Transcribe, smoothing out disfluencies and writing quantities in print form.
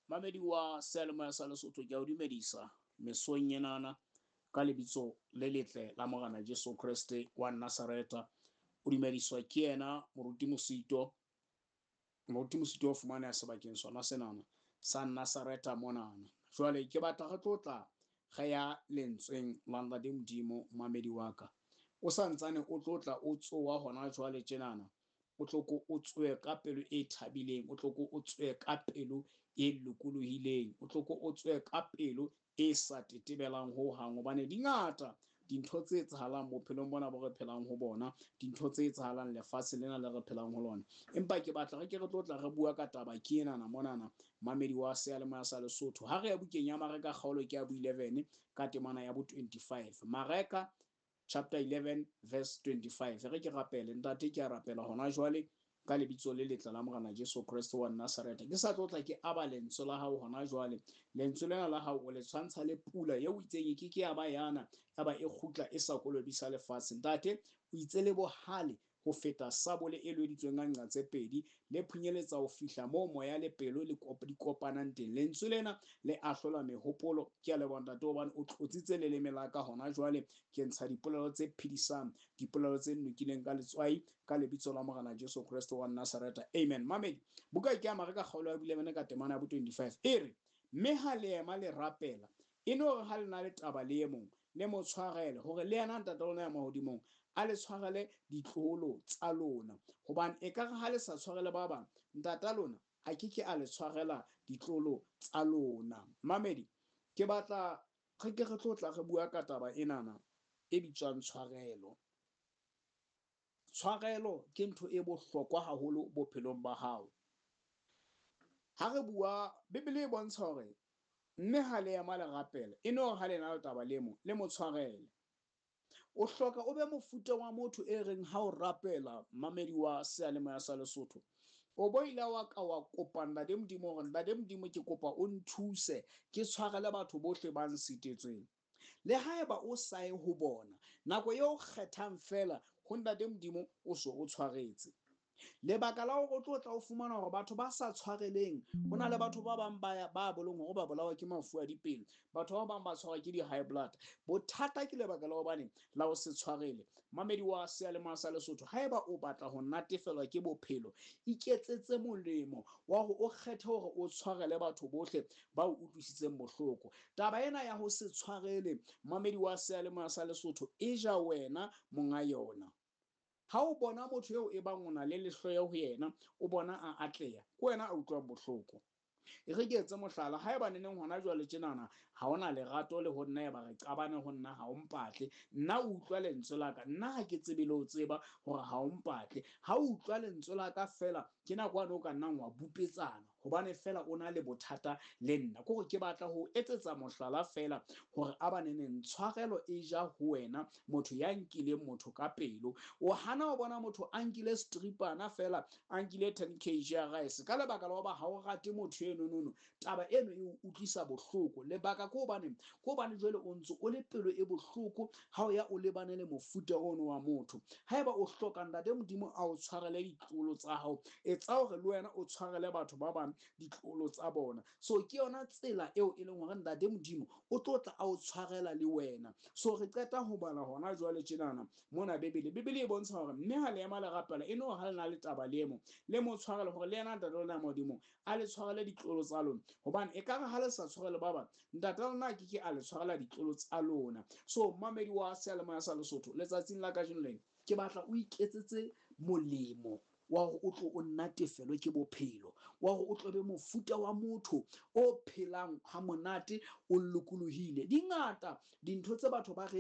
Mamedi wa seyalemoya sa Lesotho, ke a o dumedisa mesong enana ka lebitso le letle la Morena Jesu Kreste wa Nazareta. O dumediswa ke yena Moruti Mosito. Moruti Mosito o fumaneha sebakeng sona senana sa Nazareta monana. Jwale ke batla re tlo tla re ya lentsweng la Ntate Modimo, mamedi wa ka. O sa ntsane o tlo tla o tsoha hona jwale tjenana, o tlo ko o tsohe ka pelo e thabileng, o tlo ko o tsohe ka pelo e lokolohileng, o tlo ko o tsohe ka pelo e sa tetebelang ho hang, hobane di ngata dintho tse etsahalang bophelong bona bo re phelang ho bona, dintho tse etsahalang lefatshe lena le re phelang ho lona. Empa ke batla re ke re tlo tla re bua ka taba ke enana monana, mamedi wa seyalemoya sa Lesotho. Ha re ya bukeng ya Mareka kgaolo ke ya bo 11 ka temana ya bo 25. Mareka chapter 11 verse 25. Re ke rapele, Ntate, ke a rapela hona jwale ka lebitso le letle la Morena Jesu Kreste wa Nazareta. Ke sa tlo tla ke aba lentswe la hao hona jwale. Lentswe lena la hao o le tshwantsha le pula eo o itseng e ke ke ya ba yana, ya ba e kgutla e sa kolobisa lefatshe. Ntate, o itse le bohale ho feta sabole e lweditsweng ka nqa tse pedi, le phunyeletsa ho fihla moo moya le pelo li di kopanang teng. Lentswe lena le ahlola mehopolo. Ke a leboha, Ntate, hobane o tlotsitse leleme la ka hona jwale. Ke ntsha dipolelo tse phedisang, dipolelo tse nokileng ka letswai, ka lebitso la Morena Jesu Kreste wa Nazareta. Amen. Mamedi, buka ke ya Mareka kgaolo ya 11 ka temana ya bo 25 e re, Mme ha le ema le rapela, e no re ha le na le taba le e mong, le mo tshwarele, hore le yena Ntate lona ya mahodimong a le tshwarele ditloholo tsa lona. Hobane ekare ha le sa tshwarele ba bang, Ntata lona a ke ke a le tshwarela ditlolo tsa lona. Mamedi, ke batla re ke re tlo tla re bua ka taba enana e bitswang tshwarelo. Tshwarelo ke ntho e bohlokwa haholo bophelong ba hao. Ha re bua, Bibele e bontsha hore mme ha le ema le rapela, e no re ha le na le taba le mong, le mo tshwarele. O hloka o be mofuta wa motho e reng ha o rapela, mamedi wa seyalemoya sa Lesotho, o bo ile wa ka wa kopa Ntate Modimo hore Ntate Modimo ke kopa o nthuse ke tshwarele batho bohle ba nsitetsweng. Le haeba o sa ye ho bona, nako eo o kgethang feela ho Ntate Modimo o so o tshwaretse. Lebaka la hore o tlo tla o fumana hore batho ba sa tshwareleng, ho na le batho ba bang ba ba bolong hore ba bolawa ke mafu a dipelo, batho ba bang ba tshwarwa ke di-high blood. Bothata ke lebaka la hobane la ho se tshwarele. Mamedi wa seyalemoya sa Lesotho, haeba o batla ho natefelwa ke bophelo, iketsetse molemo wa hore o kgethe hore o tshwarele batho bohle ba o utlwisitseng bohloko. Taba ena ya ho se tshwarele, mamedi wa seyalemoya sa Lesotho, e ja wena monga yona. Ha o bona motho eo e bang o na le lehloyo ho yena, o bona a atleha, ke wena a utlwang bohloko. E re ke etse mohlala, haeba neneng hona jwale tjenana ha o na lerato le ho nna, eba re qabane ho nna ha o mpatle, nna o utlwa lentswe la ka, nna ha ke tsebe le ho tseba hore ha o mpatle. Ha o utlwa lentswe la ka feela, ke nako yane o ka nnang wa bupetsana, hobane fela o na le bothata le nna. Ke hore ke batla ho etsetsa mohlala fela hore a ba neneng tshwarelo e ja ho wena motho ya nkileng motho ka pelo. O hana ho bona motho a nkile stripana fela, a nkile 10 kg ya rice ka lebaka la hoba ha o rate motho eno nono. Taba eno e o utlwisa bohloko. Lebaka ke hobane, ke hobane jwale o ntse o le pelo e bohloko ha o ya o lebane le mofuta ono wa motho. Haeba o hloka Ntate Modimo a o tshwarele ditlolo tsa hao, etsa hore le wena o tshwarele batho ba bang ditlolo tsa bona. So ke yona tsela eo e leng hore Ntate Modimo o tlo tla a o tshwarela le wena. So re qeta ho bala hona jwale tjenana mona Bibele. Bibele e bontsha hore mme ha le ema le rapela, e no ha le na le taba le e mong, le mo tshwarele hore le yena Ntate lona ya mahodimong a le tshwarele ditlolo tsa lona. Hobane ekare ha le sa tshwarele ba bang, Ntate lona a ke ke a le tshwarela ditlolo tsa lona. So mamedi wa seyalemoya sa Lesotho, letsatsing la kajeno lena ke batla o iketsetse molemo wa hore o tlo o natefelwe ke bophelo, wa hore o tlo be mofuta wa motho o phelang ha monate, o lokolohile. Di ngata dintho tse batho ba re